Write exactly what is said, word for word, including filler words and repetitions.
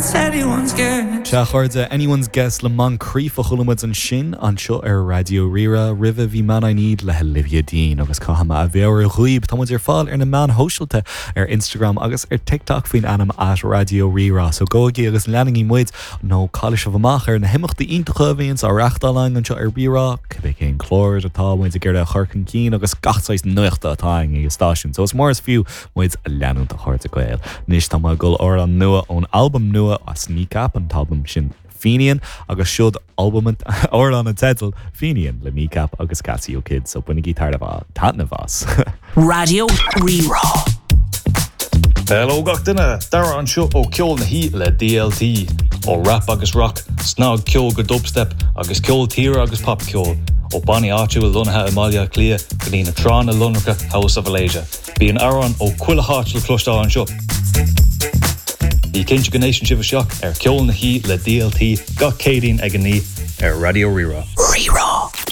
It's anyone's guess. Sea a chairde Anyone's Guess le Moncrief a chuala muid ansin anseo ar Raidió Rí-Rá roimhe bhí Man I Need le Olivia Dean agus caithfidh mé a mheabhrú dhaoibh tá muid ar fáil ar na meáin shóisialta ar Instagram agus ar TikTok faoin ainm at Raidió Rí-Rá so gabhaigí agus leanaigí muid nó caillfidh sibh amach ar na himeachtaí iontacha a bhíonn á reáchtáil againn anseo ar Rí-Rá cibé cén clár atá muid ag iarraidh a chur chun cinn agus gach saghas nuachta atá ag an stáisiún so is mór is fiú muid a leanúint a chairde Gael. Anois tá ag dul amhrán nua ón albam nua as Kneecap an t-albam sin Fenian agus siod albam amhrán an teidil Fenian le Kneecap agus Casio Kids so bainigí taitneamh as. Raidió Rí-Rá. Hello gach duine Dara anseo ó Ceol na hOíche le DLT ó rap agus rock, snagcheol go dubstep agus ceol tíre agus popcheol ó bannaí áitiúil lonnaithe i mBaile Átha Cliath go dtí na tránna lonracha House of Alasia. Bíonn amhráin ó chuile háit le cloisteáil anseo. Bí cinnte go n-éisteann sibh isteach ar Ceol na hOíche le DLT gach Céadaoin ag a naoi ar Raidió Rí-Rá. Rí-Rá.